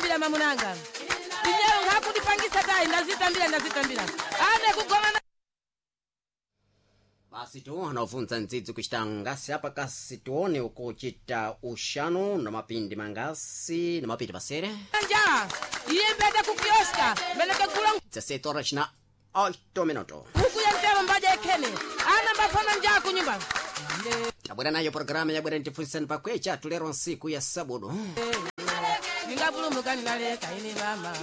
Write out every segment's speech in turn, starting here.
Ndazitambira mamunanga inyero ngakutipangisa tayi ndazitambira ndazitambira ane kugoma. Basi tu anaofunza ndzidzi kuchita ngasi apa kasi tione ukuchita uxanu na mapindi mangasi na mapindi pasere. Njaa iye mbeta kukioska mbelekegula. 17 horas na 8 minuto. Huku ya mtemo mbaja ekhene ana mbafana njaa kunyumba. Tabwera nayo programa yabwera ntifunzisani pakwecha tulero nsiku ya sabudu. Ningapulumuka ninaleka ine mama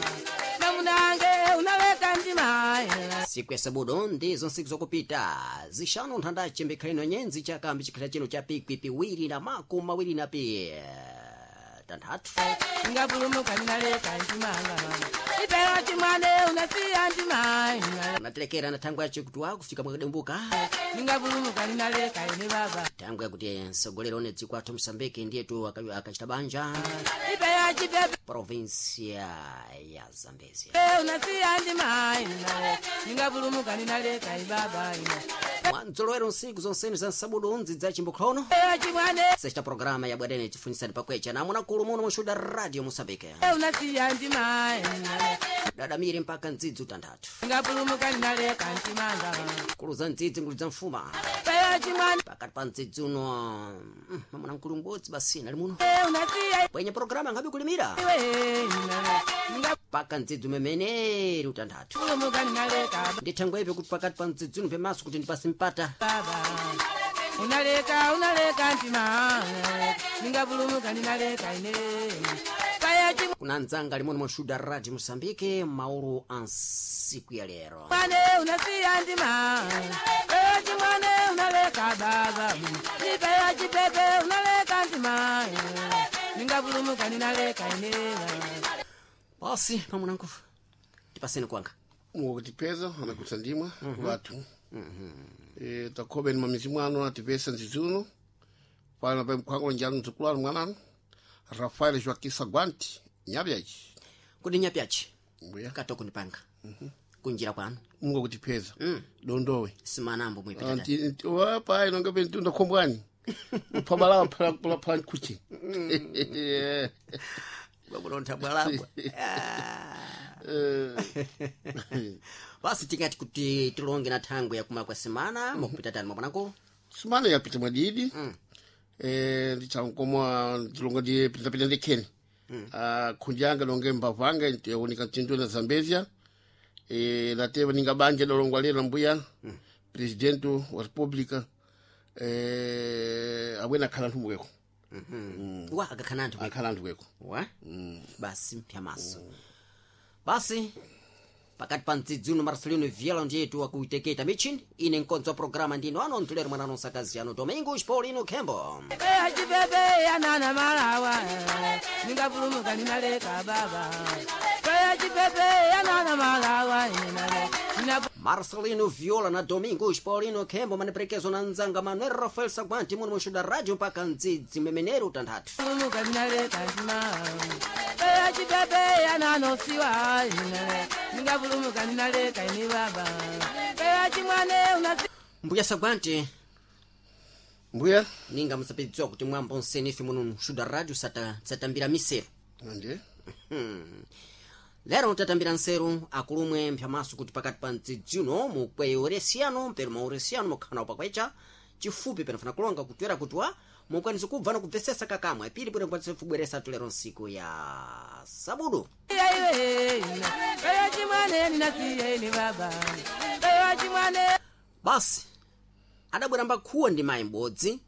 namunange unaleka ndima. Siku ya sabudu ndizo nsiku zokupita zixanu nthandace mbikhaleno nyenzi chakambi chikhala chino cha pikwi piwiri na makumi mawiri na pi tanthatu. Ningapulumuka ninaleka ndimanga mama ipera chimwane unasiya ndima. Natilekera na thangwe yace kuti wakufika mwakadembuka. Ningapulumuka ninaleka ine baba. Thangwe yakuti msogolero one dziko athu Msambiki ndiyetu akachita banja. Ipera chipepe. Provinsia ya Zambezia. Unasiya ndima ningapulumuka ninaleka ibaba. Mwanzolowero nsiku zonseni za nsabudu nzi za chimbukhlono. Ipera chimwane. Sexta programa ya bwerene tifunisani pakwecha namuna kulu muno mushuda radio Mosambike. Unasiya ndima. Dadamire mpaka ndzidzi utanthatu. Ngapulumuka ninaleka ndimanga. Kulu za ndzidzi ngulu za mfuma. Pera chimwane. Pakati pa ndzidzi uno mamuna mkulu m'bodzi basi nali muno. Unasiya. Kwenye programa ngabe kulimira. Iwe Paka ndzidzi umemeneri utanthatu. ngapulumuka ninaleka. Ndithangwepe kuti pakati pa ndzidzi uno pemaso kuti ndipase mpata. Baba unaleka unaleka ndima ningapulumuka ninaleka ine paya Kuna ndzanga limono moshuda radio Mosambike maulu a nsiku ya lero. Chimwane unasiya ndima paya chimwane unaleka baba ipaya chipepe unaleka ndima ningapulumuka ninaleka ine. Basi pamunangu tipaseni kwanga. Mukutipeza anakutsa ndimwa watu takhobe ni mamizi mwanu atipesa nzizuno pano pa mkwango njalo mdzukulu anu mwananu Rafael Joaquim Saguante nyabyaji. Kuti nyapyachi. Mbuya. Katoko ndipanga kunjira kwanu. Mungakutipeza dondowe. Simanambo mwipita. Wapa inonga pentunda khombwani uphabalawa phala phala nkuchi. Bwakulontha bwalabwa. Basi tingati kuti tilonge na thangwe yakuma kwa semana mukupita tani mwapanangu. Sumana yapita mwadidi ndichankomwa ndilonga ndi pitapita ndikheni. Ah, khunji anga longe mbavu anga yaoneka mtindo na Zambezia lateva ninga banja lolongwa lero mbuya presidente wa republica abwena akhala anthu mweko. Wa akakhala anthu. Akhala anthu kweko. Wa basi mpyamaso basi pakati pa mdzidzi uno Marcelino Viela ndiyetu wakuiteketa michini ine nkonzo wa programa ndino ano ntulero mwana nonsakazi ano Domingos Paulino Kembo. Paya chipepe yanana malawa ningapulumuka ninaleka baba paya chipepe yanana malawa nina. Marcelino Viola na Domingos Paulino Kembo maniperekezo na nzanga Manuel Rafael Saguanti muno mushuda radio mpaka mdzidzi memenero utanthatu. Pulumuka ninaleka ndima paya chipepe yananosiwa ningapulumuka ninaleka ini baba paya chimwane unasi. Mbuya Saguanti. Mbuya. Ninga musapidziwa kuti mwambo nseni ife muno mushuda radio satambira miseru. Ndiye. Lero tatambira nseru akulumwe mphyamaso kuti pakati pa mdzidzi uno mukweyo uresiyano mpero mauresiyano mukhala pakwecha chifupi penafuna kulonga kutwera kutwa mukwanisa kubva nokubvesesa kakamwe pili bwino kwanisa kubweresa tulero nsiku ya sabudu. Iwe paya chimwane ninasiya ini baba paya chimwane. Basi adabwera mbakhuwa ndi mayi m'bodzi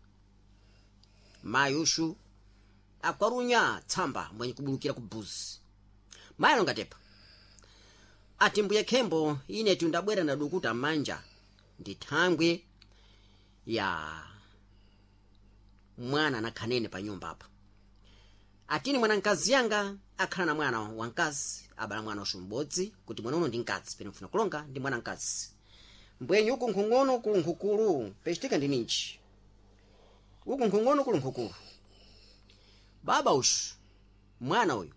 mayi ushu akwarunya tsamba mwenye kubulukira ku buzi mayi alongatepa ati mbuye Khembo inetu ndabwera nadukuta manja ndi thangwe ya mwana nakhanene pa nyumba apa atini mwana mkazi yanga akhala na mwana wamkazi abala mwana ushu m'bodzi kuti mwana uno ndi mkazi pene mfuna kulonga ndi mwana mkazi mbwenye uku nkhung'ono kulu nkhukulu pechitika ndi ninji uku nkhung'ono kulu nkhukulu baba ushu mwana uyu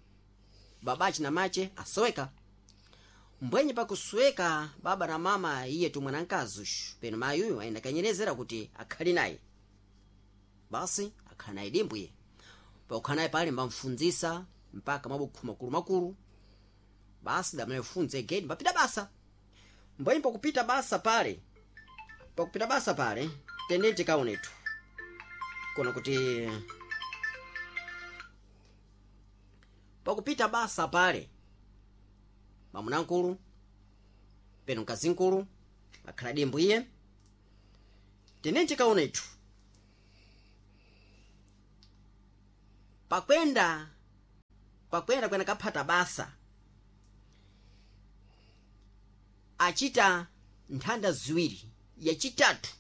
babachi na mache asoweka mbwenye pakusweka baba na mama iye tu mwana mkazi ushu peno mayi uyu ayenda kanyerezera kuti akhali naye basi akhala naye dimbwiye pakukhala naye pale mbamfundzisa. Mpaka mabukhu makulu makulu basi damalefunza egedi mbapita basa. Mbwenyi pakupita basa pale, pakupita basa pale tendeni tikaonetu kona kuti pakupita basa pale mamunankulu peno mkazinkulu akhala dimbu iye. Tendeni tikaonetu pakwenda pakwenda kwena kaphata basa achita nthanda ziwiri, yachitatu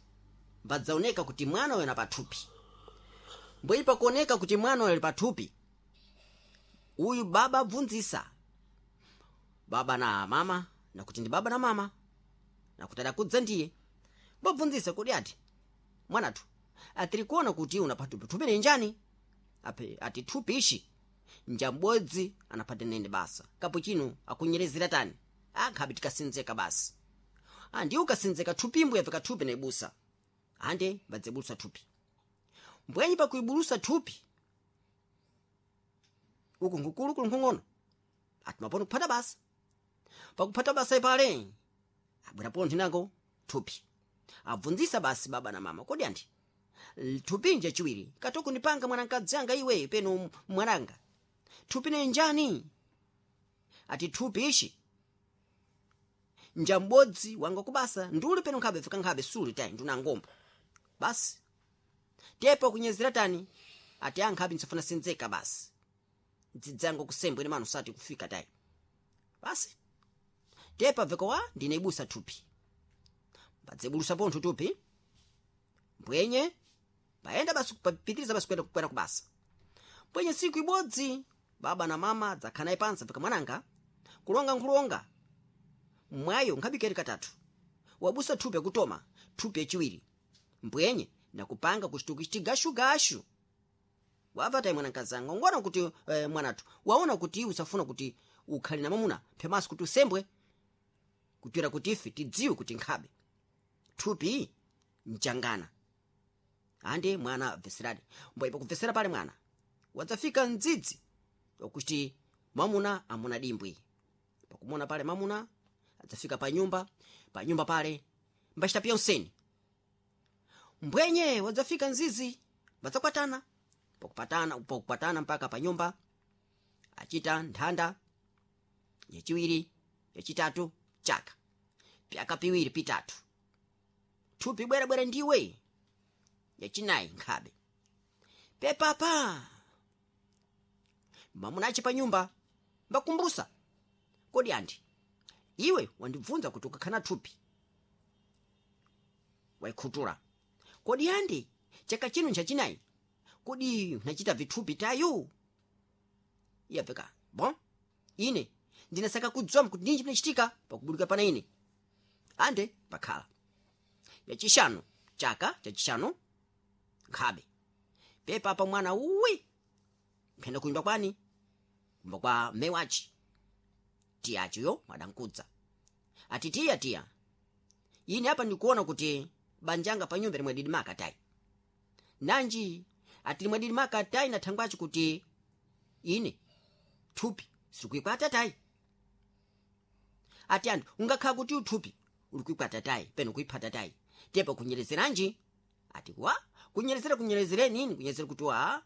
mbadzaoneka kuti mwana uyo na pathupi. Mbwenyi pakuoneka kuti mwana uyo ali pathupi, uyu baba abvunzisa baba na mama, nakuti ndi baba na mama, nakuti adakudza ndiye mbabvunzisa kuti ati mwanathu atiri kuona kuti una pathupi, thupi ni njani? Ape ati thupi ishi njambodzi anaphata nene basa kapo chino akunyerezera tani akhabe tikasinzeka basi. Andi ukasinzeka thupimbo yapeka thupi naibusa ande mbadzebulusa thupi. Mbwenyi pakuibulusa thupi uku nkukulu kuli nkhung'ono ati maponi kuphata basa. Pakuphata basa ipale abwera pontho nako thupi abvunzisa basi baba na mama, kodi anti thupi nje chiwiri katoko ndipanga mwanamkadzi anga iwe peno mwananga thupi ne njani? Ati thupi ishi njambodzi wanga kubasa nduli peno nkhabe fika nkhabe suli tayi nduna ngombo basi tepo kunyezera tani ati ankhabe nsifuna sinzeka basi dzidzango kusembwe ni mano sati kufika tayi basi tepa veko wa ndine ibusa thupi mbadzebulusa pontho thupi mbwenye paenda basi papitiriza basi kwenda kwenda kubasa. Mbwenye siku ibodzi baba na mama dzakhala naye pansi fika mwananga kulonga nkhulonga mwayo nkhabikeri katatu wabusa thupi akutoma thupi yachiwiri mbwenye nakupanga kuchituki chigashugashu wabva tayi mwanakazanga ngona kuti mwanathu waona kuti usafuna kuti ukhale na mamuna phemaso kuti usembwe kutwera kuti ife tidziwe kuti nkhabe thupi mchangana ande mwana abveseradi mbwepo kubvesera pale mwana wadzafika mdzidzi wakuti mwamuna amuna dimbwi pakumona pale mamuna adzafika pa nyumba, pa nyumba pale mbachita pyonseni mbwenye wadzafika mzizi mbadzakwatana pakupatana pakupatana mpaka pa nyumba achita nthanda yachiwiri yachitatu chaka pyaka piwiri pitatu thupi bwerabwera ndiwe yachinayi nkhabe pepapa mamuna achi pa nyumba mbakumbusa kodi anti iwe wandibvunza kuti ukakhana thupi waikhutura kodi andi chaka chino nchachinayi kodi unachita vithupi tayu iyapfeka bon ine ndinasaka kudziwa kuti ninji pinachitika pakubulika pana ine ande pakhala yachishanu chaka chachishanu nkhabe pepa pa mwana uwi mphenda kunyumba kwani kumba kwa mme wachi tiyachiyo mwadankudza ati tiya tiya ine apa ndikuona kuti banjanga pa nyumba limwe didi makatayi nanji ati limwe didi makatayi na thangwachi kuti ine thupi sirikuikwata tayi ati anthu ungakhala kuti uthupi uli kuikwata tayi peno kuiphata tayi tepa kunyerezeranji ati wa kunyerezera kunyerezereni ini kunyerezera kuti wa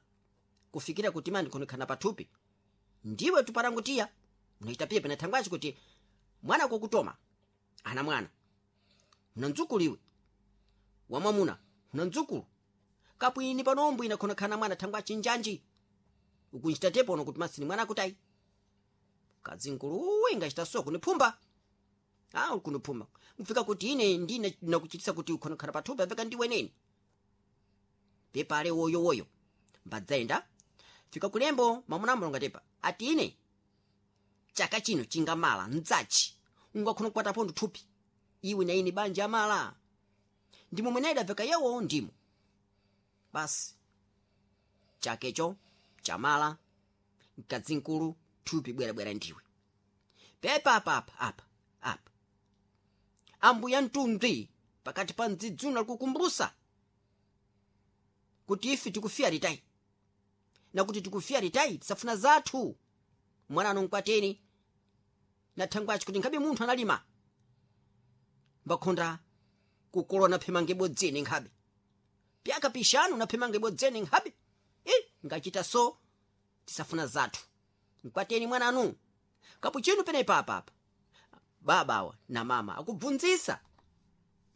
kufikira kuti mani khonekana pathupi ndiwe tuparangutiya unaita piye pena thangwachi kuti mwana kokutoma ana mwana una mdzukulu iwe wamwamuna una mdzukulu kapwini panombo ina khonekana mwana thangwachi njanji ukunchita tepo ono kuti masini mwana akutayi kadzinkulu ingachita so kuniphumba ah kuniphumba mfika kuti ine ndine nakuchitisa kuti ukhonekana pathupi apeka ndiwe neni pepale woyo woyo mbadzaenda fika kulembo mwamuna amulonga tepa ati ine chaka chino chingamala mdzachi ungakhona kukwata pondo thupi iwe na ine banja amala ndimo mwene idabveka yewo ndimo basi chakecho chamala mkadzinkulu thupi bwerabwera ndiwe pepa apa apa apa apa ambuya mtundwi pakati pa mdzidzuno alikukumbusa kuti ife tikufiya litayi nakuti tikufiya litayi tisafuna zathu. Mwana nkwateni na thangwachi kuti nkhabe munthu analima mbakhonda kukolona phemange bodzeni nkhabe pyaka pishanu naphemange bodzeni nkhabe ngachita so tisafuna zathu mkwateni mwananu kapuchinu penepa apapa babawa na mama akubvunzisa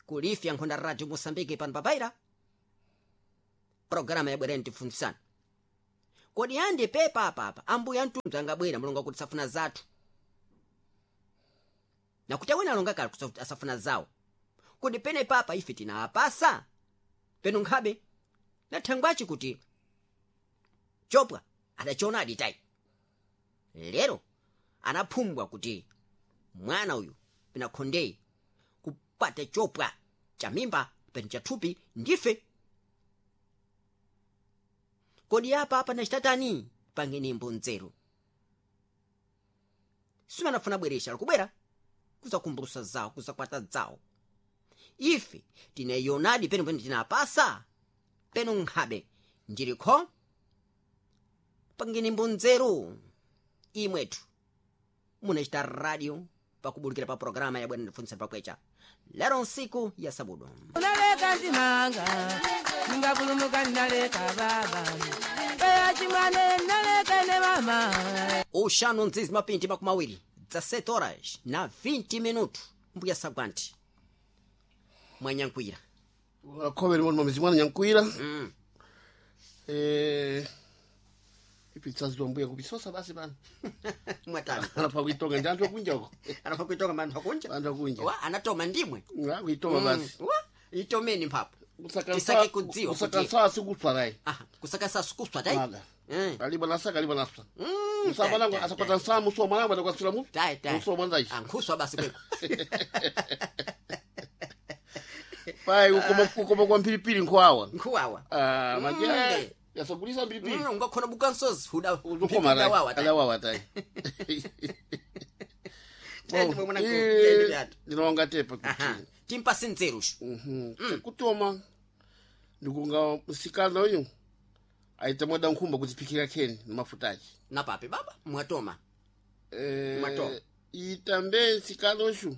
kulifya nkhonda radio Mosambike pano papaira programa yabwereni tifunzisana kodi andi pepa apapa ambuya mtundu angabwera mulongo kuti safuna zathu nakuti awene alonga kale kuti asafuna zawo kodi pene papa ife tinaapasa peno nkhabe nathangwachi kuti chopwa adachiona aditayi lero anaphumbwa kuti mwana uyu penakhondeyi kupata chopwa cha mimba peno chathupi ndife kodi apa apa nachitatani pangenembo nzeru simanafuna bweresha likubwera kuzakumbulusa zawo kuzakwata zawo ife tinayionadi peno pene tinapasa peno nkhabe ndilikho pangenembo nzeru imwetu munachita radio pakubulikira pa programa ya bwana ndifunsa pakwecha lero nsiku ya sabudu Unaleka nzimanga ningapulumuka ninaleka baba eya chimwane naleka ne mama uxanu nzizi mapinti makumi awiri 17 horas na 20 minutos mbuya sagwanti mwanyankwira Akhobeni moni mamizi mwana nyankwira ipitsaziwa mbuya kupisosa basi pano mwatani anapha kuitonga ndi anthu akunja uko anapha kuitonga manthu akunja anthu akunja wa anatoma ndimwe kuitoma basi wa itomeni mphapo Tisake kudziwa kuti- kusaka sikuswa rayi aha kusaka sasukuswa tai Nada. Eh. aliba nasaka aliba naswa Mm, musabanangu tai, tai, asakwata nsamu so mwanangu adakwasula mupi tai tai muso mwanzachi ankhuswa basi kweko pai ukoma kwa mphilipili nkhuwawa nkhuwawa ah Mm. manje yasagulisa mphilipili ungakhona bukansozi huda ukoma rayi hudawawa tai adawawa tai Tende mwe mwanangu, tende byatu. ndinonga tepa kuti aha timpase nzerushu chekutoma ndikunga msikana uyu aita mwada nkhumba kudziphikira kheni ni mafuta achi napape baba mwatoma Matoma. itambe nsikana uxu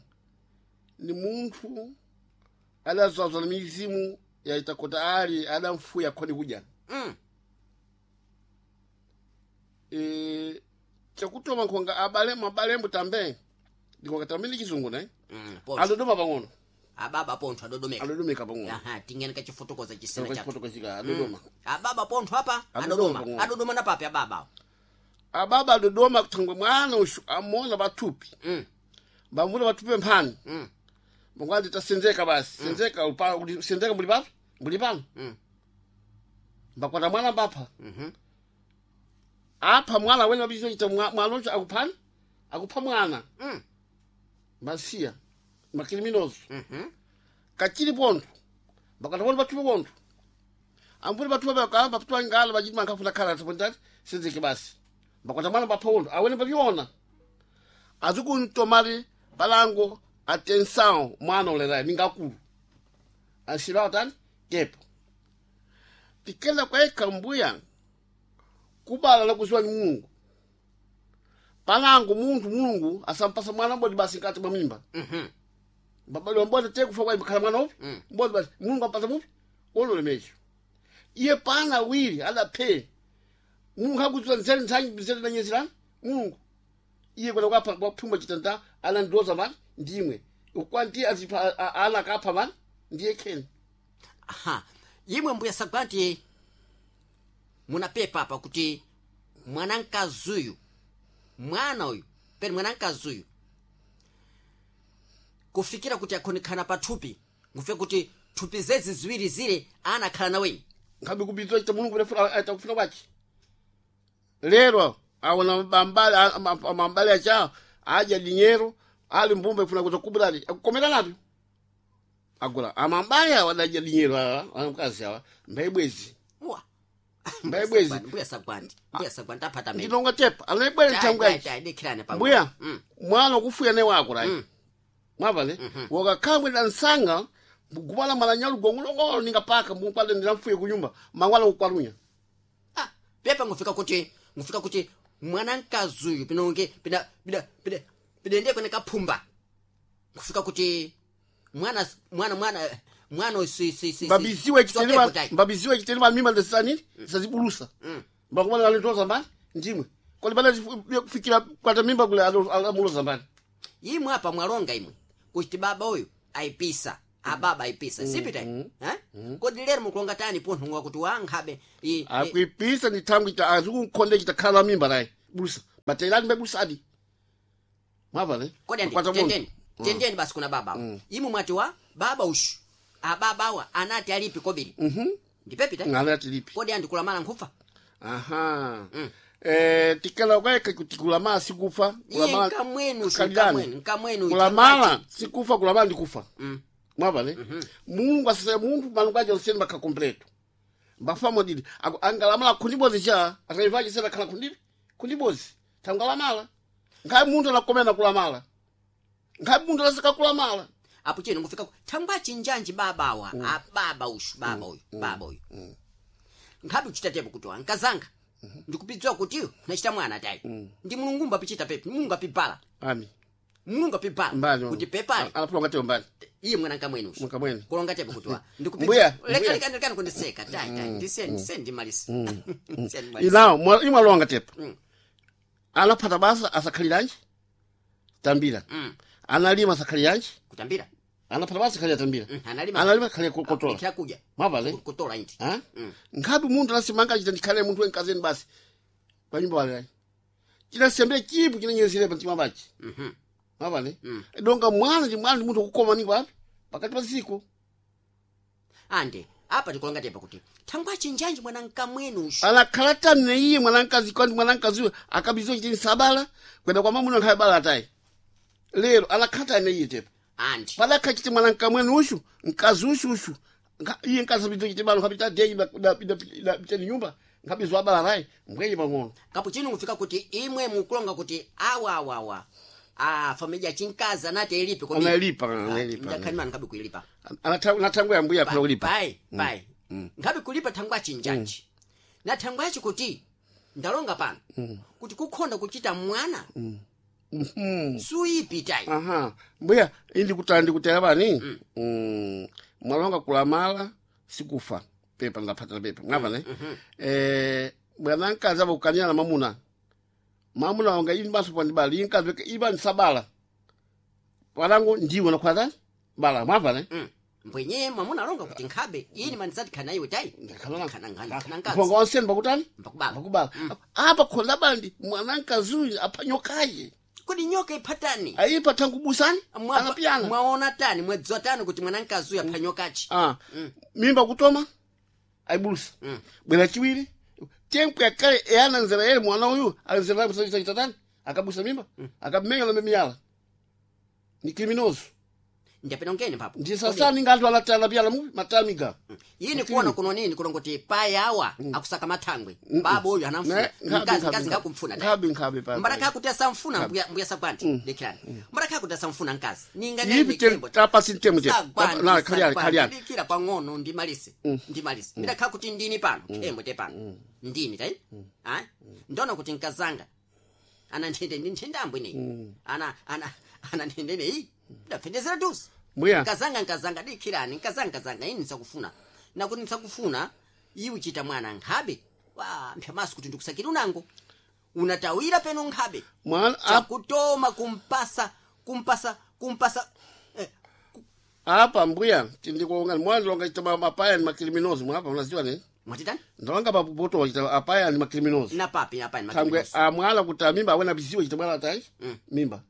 ni munthu adazazwa na mizimu yaita kota ali adamfuya khoni kudya mm. Chakutoma nkhonga abale mabalembo tambe ndikonga tambe ndi chizungu ne pontho adodoma pang'ono ababa pontho adodomeka adodomeka pang'ono aha tingene kachifotokoza chisena chathu kachifotokozika adodoma ababa pontho apa Adodoma adodoma pang'ono. adodoma napape ababa ababa adodoma kuthangwe mwana uxu amona pathupi mm. mbamvula pathupi mphani mm. mungwati tasenzeka basi senzeka kuti senzeka muli papi muli pano Mm. mbakwata mwana mbapha Mhm. apha mwana wene wabizochita mwana ucho akuphani akupha mwana Mm. mbasiya makiliminozo Mhm. kachili pontho mbakwata poni pathupi pontho amvula pathupi pakamba pathupi ngala pachiti mankhafuna khala tapondati senzeke basi mbakwata mwana mbapha pontho awene papiona azikuntomali palango atenção mwana ulerayo ningakulu ansilawo tani kepo tikela kwaika mbuya kubala lakuziwa ni mulungu palango munthu mulungu asampasa mwana mbodi basi nkati mwa mimba Mhm. mbabaliwa mbodi te kufa kwa khala mwana upi mbodi basi mulungu ampasa mupi ololemecho iye pana awiri adaphe mulungu akudziwa nzere ntsanyi nzere nanyezirani mulungu iye kwena kwapha kwaphumba chitanda anandiloza mani ndimwe ukwanti azipha ana akapha mani ndiye kheni aha imwe mbuya sagwanti munapepa apa kuti mwanamkazi uyu mwana uyu peni mwanamkazi uyu kufikira kuti akhonekana pathupi ngufe kuti thupi zezi ziwiri zile anakhala naweni nkhabe kubidzwa chita mulungu aita kufuna kwachi lero awona mambali mambali acha adya dinyero ali mbumba ifuna kuza kubulali akukomera napyo agula amambali awa adadya dinyero awa anamkazi awa mbaibwezi wa Mbaibwezi. mbuya sagwanti mbuya sagwanti aphata mene ndilonga tepa anaibwere thangwachi dikhirane pa mbuya Mm. mwana ukufuya ne wako right mwavale wakakhangwe dansanga gubala malanyalu gongolongolo ningapaka mukwale ndilamfuye kunyumba mangwala kukwalunya ah, pepa ngufika kuti ngufika kuti Mwanamkazi uyu pinonge pina pina pina pidende kwene kaphumba kufika kuti mwana mwana mwana mwana si si si Mbabiziwe chiteni mbabiziwe chiteni ba mimba ndesani sazibulusa. Mbakumana alitoza mbali ndimwe. Kodi bana kufikira kwata mimba kule alamuloza mbali. Imwe apa mwalonga imwe kuti baba uyu aipisa ababa aipisa sipita eh? Kodi lero mukulonga tani punthungwa kuti wankhabe Akuipisa ni tangu ita azukunkhonde chitakhala mimba naye. Bulusa. Batelani mbebusa adi. Mwava ne? Kodi andi tendeni tendeni basi kuna baba imwe mwati wa baba ushu ababa awa anati alipi kobiri. Ndipepita Anati lipi. Kodi andi kulamala nkhufa. Aha. Tikala kwaeka kuti kulamala sikufa. Iye nkamwenu ushu nkamwenu nkamwenu. Kulamala sikufa, kulamala ndikufa. Mwava ne? Mulungu asese munthu malungu aja useni bakha completo. Mbafa modidi. Angalamala kundibozi cha ataivaji sena khala kundibi. Kundibozi. Tangalamala. Ngai munthu anakomena kulamala. Ngai munthu anaseka kulamala. Apo chino ngufika thangwa chinjanji babawa ababa ushu baba uyu baba uyu. Nkhabe uchitatepo kuti ankazanga. Ndikupidzwa kuti nachita mwana tayi. Ndi Mulungu mbapichita pepi, Mulungu apibala. Ami. Mulungu apibala. Kuti pepale. Alapulonga teo mbali. Iye mwana nkamwenu ushu. Nkamwenu. Kulonga tepo kuti wa. Mbuya. Lekani lekani kundiseka tayi tayi. Ndiseni ndiseni ndimalisa. Ndiseni ndimalisa. Inawo imwalonga tepo. Anaphata basa asakhaliranji tambira. Analima asakhaliranji kutambira. Anaphata basa akhalira tambira. Analima. Analima akhalira kutola. Kyakuja. Mwava le? Kutola inti. Ha? Nkhabe munthu anasimanga chita ndikhale munthu wenkazeni basi. Pa nyumba wale. Chinasembe chipu chinanyezere pa mtima pachi. Mwava le? Donga mwana ndi mwana ndi munthu kukoma ni wapi? Pakati pa ziko. Ande apa tikulonga tepa kuti thangwa chinjanji mwana nkamwenu ushu. Anakhala tani iye mwana nkazi kwani mwana nkazi akabizo chitini sabala kwenda kwa mamuna nkhaye bala atayi. Lero anakhala tani iye tepa. Andi. Padakha chiti mwana nkamwenu ushu nkazi ushu ushu. Iye nkazi bizo chiti balo nkapita deyi da da nyumba nkabizo abala naye mbwenye pang'ono. Kapo chino ngufika kuti imwe mukulonga kuti awa awa awa. Ah, familia chinkazi anati ilipi kodi. Analipa analipa. Ndakhanima nkhabe kuilipa. Anatangwa ya mbuya akula kulipa. Pai pai. Nkhabe kulipa thangwa chinjanji. Na thangwa kuti ndalonga pano. Kuti kukhonda kuchita mwana. Suipitayi. Aha. Mbuya indi kutandi kutera bani. Mwalonga kulamala sikufa. Pepa ndapata pepa. Mwava ne? Bwana nkazi abo kukanyana na mamuna. Mamuna wanga ini baso pandi bali inkazi iba nsabala. Walangu ndiwe na kwaza bala mwava ne? Mbwenye mwamuna alonga kuti nkhabe ini manisati khana iwe tayi. Khana ngani khana nkazi. Mponga wanseni bakutani? Mbakubala. Bakubala. Apa khonda bandi mwana nkazi uyu apanyokaye. Kodi nyoka iphatani? Ayipa tangu busani? Anapiyana. Mwaona tani mwedziwa tani kuti mwana nkazi uyu aphanyokachi. Mimba kutoma ayibulusa. Bwera chiwiri. Tempo yakale eyana nzera yele mwana uyu anzera msajisa chitatani akabusa mimba akamenya na mimiyala. Ni kriminoso. Ndiyapena ngene papo. Ndi sasani nganthu alatala piyala mu matamiga. Yini kuona kuno nini kulongoti payawa akusaka mathangwe. Baba uyu anamfuna. Mkazi mkazi ngakumfuna. Nkhabe nkhabe pa. Mbaraka kuti asamfuna mbuya mbuya sagwanti. Lekirani. Mbaraka kuti asamfuna nkazi. Ninga Yipi tapasi ntemu te. Na khaliani khaliani. Ndikira pang'ono ndimalise. Ndimalise. Ndakha kuti ndini pano. Khembo te pano. Ndini tayi. Ah? Ndona kuti nkazanga. Ana nthende ndi nthende ambwe neyi. Ana ana ana nthende neyi. Ndapfendezera dusi. Mbuya. Nkazanga nkazanga dikhirani nkazanga nkazanga ini nsakufuna. Nakuti nsakufuna iwe chita mwana nkhabe. Wa mphyamaso kuti ndikusakira unango. Unatawira peno nkhabe. Mwana Chakutoma kumpasa kumpasa kumpasa apa mbuya tindikulonga mwana ndilonga chita mapaya ni makriminoso mwapa unaziwa ne? Mwatitani? Ndalonga papoto chita apaya ni makriminoso. Na papi apa ni Kangwe makriminoso. amwala kuti mimba awena biziwe chita mwana atayi mimba.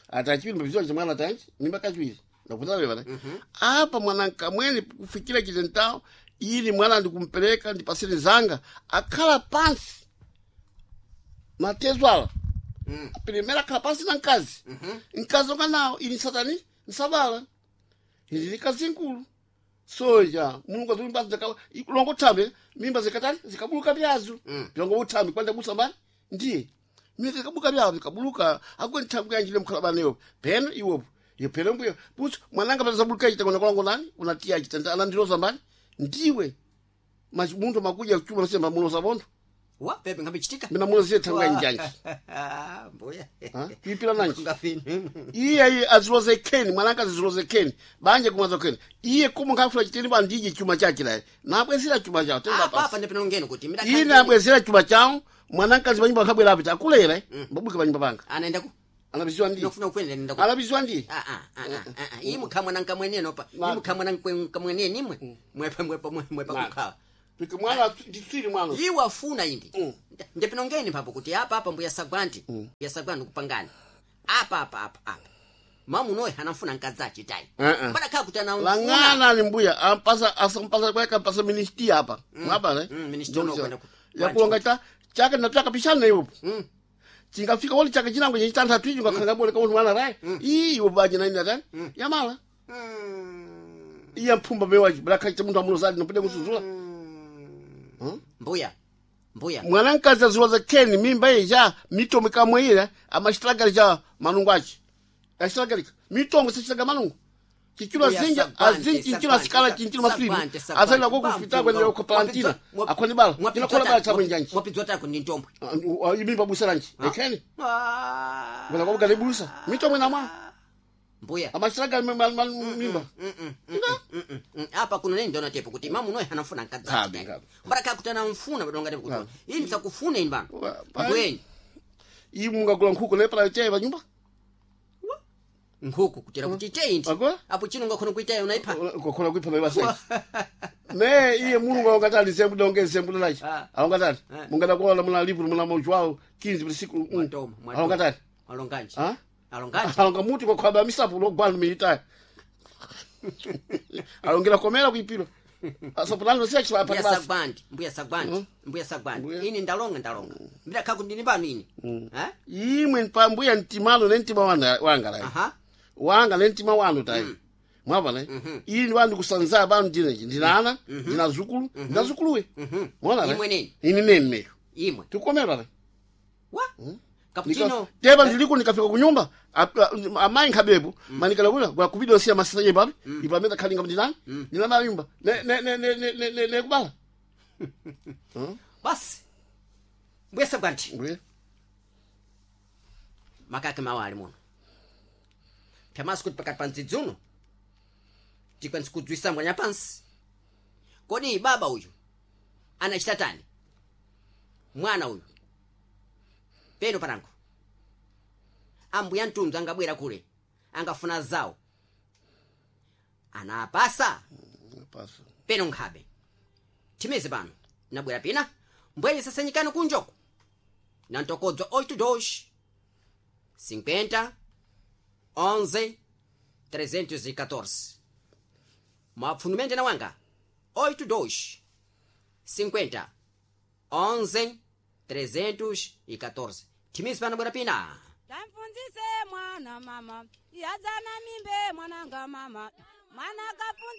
Atachiwiri mbiziwe chita mwana atayi mimba kachiwiri. Ndakutana bana. Apa mwana nkamweni kufikira chitentao ili mwana ndikumpeleka ndipasire zanga akhala pansi. Matezwala. Primeira akhala pansi na nkazi. Nkazi onga nawo ili satani nsabala. Ili likazi nkulu. Soja Mulungu azimba zaka longo tambe mimba zikatani zikabuluka byazu. Longo utambe kwanda busa mbali ndiye. Mimba zikabuluka byazu zikabuluka akwe nthambi yanjile mkhala baneyo. Peno iwopo. Yo peno mbuyo. Busu mwananga bazabuluka chita kona kolongo nani unatia chita ana ndiloza mbali ndiwe. Mas muntu makuja kuchuma nasema muloza bondo. Wa pepe ngabichitika. Mina munoziye thangwa njanji. Mbuya. Kuipira nanji. Ngafini. Iye iye aziloze keni mwananga aziloze keni banje kumwaza keni iye kumu ngafula chitini bandije chuma chake laye nabwezera chuma chawo tenga Apa pasi apa ndipinongeni kuti mina iye nabwezera chuma chawo mwanankazi panyumba akabwera apita akulera mbabuke panyumba panga anaenda ku anabiziwa ndi nofuna kukwenda nenda ku anabiziwa ndi Ah, ah, ah, ah, ah, ah. Imwe khamwana nkamwenene opa. Na- Imwe khamwana nkamwenene imwe. Mwepa mwepa mwepa Na. kukhala. pike mwana nditsiri mwana Iwe afuna indi. Mm. Ndipinongeni papo kuti apa apa mbuya sagwanti. Mbuya sagwanti kupangani. Apa apa apa apa. Mamunoyo anafuna nkadzachi tayi. Eh, eh. Mbada kuti anamfuna. lang'ana ni mbuya ampasa asampasa kweka ampasa ministi apa mwabale Ministry unokwenda ku- yakulonga cha chake nataka pishana iwopo chingafika woli chake chinango chechitantatu icho ngakhanga bole kamuntu mwana rayi ii iwo baje naini atani yamala iye mphumba mewachi bulakhacha munthu amunozali nopita kusuzula Mbuya. Mbuya. mwana mkazi aziloza keni mimba ija mitombo ikamwe amachitagali cha manungu achi achitagalika mitombo sichitaga manungu chichilo Mbuya, azinja Sagwante, azinji chichilo Sagwante, asikala chinchilo mafilimu Sagwante, Sagwante. azalila ko kufita kwenda ko palantina akhoni bala chinokola bala chamwe njanji Mwapidzwa tako ndi ntombwe. imimba busa lanji ekheni kwenda kwa bugale busa mitombo inamwa Mbuya. amachitagali mimba Apa kuno neni ndona tepo kuti mamunoyo anafuna nkadzachi Kabe, tayi. kabe. Mbada kuti anamfuna badonga tepo kuti ini sakufuna ini bana. Wa- pa- Mbweni. iyi mungagula nkhuku nepala chai panyumba Nkhuku kutera kuti ite indi. Akwa? Apo chino ngakhona kuitayo unaipa. kokhona kuipha mebasa ne iye mulungu aungatali nsembu donge nsembu lalachi Ah. aungatali Ah. mungadakola muna livro muna mochwawo 15 bilisiku Mwatoma, mwatoma. aungatali Alonganji. Ah? Alonganji. alonga muti kwakhwaba misapu logwana militaya alongera komera kuipiro asapulano siya Mbuya basi Sagwandi, mbuya Sagwandi, mbuya Sagwandi. Mbuya. Ini ndalonga ndalonga. Mbida kaku ndini pano ini. Eh? imwe pambuya mtimalo ne mtima wanga wanga lai Aha. wanga ne mtima wanu tayi mwapa ne ini wandu kusanza banu ndinechi ndinana ndina zukulu ndina zukuluwe mwana Imwe nini? ini neni meyo Imwe. tikukomera lai Wa? Cappuccino. Teba ndiliko nikafika kunyumba amayi nkhabepo manikala kula kwa kubida siya masasa papi ipo amene khalinga ndinani ndinana nyumba ne ne ne ne ne ne- ne ne kubala Basi. Mbuya Sagwandi. Mbuya. Makake mawali muno. Pyamaso kuti pakati pa ndzidzi uno tikwanisa kudzwisa mbwanya pansi. Kodi baba uyu anachita tani? Mwana uyu. Peno panango. Ambuya mtundu angabwera kule angafuna zawo. Anapasa Pasa. peno nkhabe. Timeze pano nabwera pina mbwenye sasanyikani kunjoko na ntokodzo 82 50 11 314 mapfunumende na wanga 82 50 11 314 timezi pano bwera pina. Tamfunzise mwana mama, yadzana mimbe mwananga mama, mwana kafunza.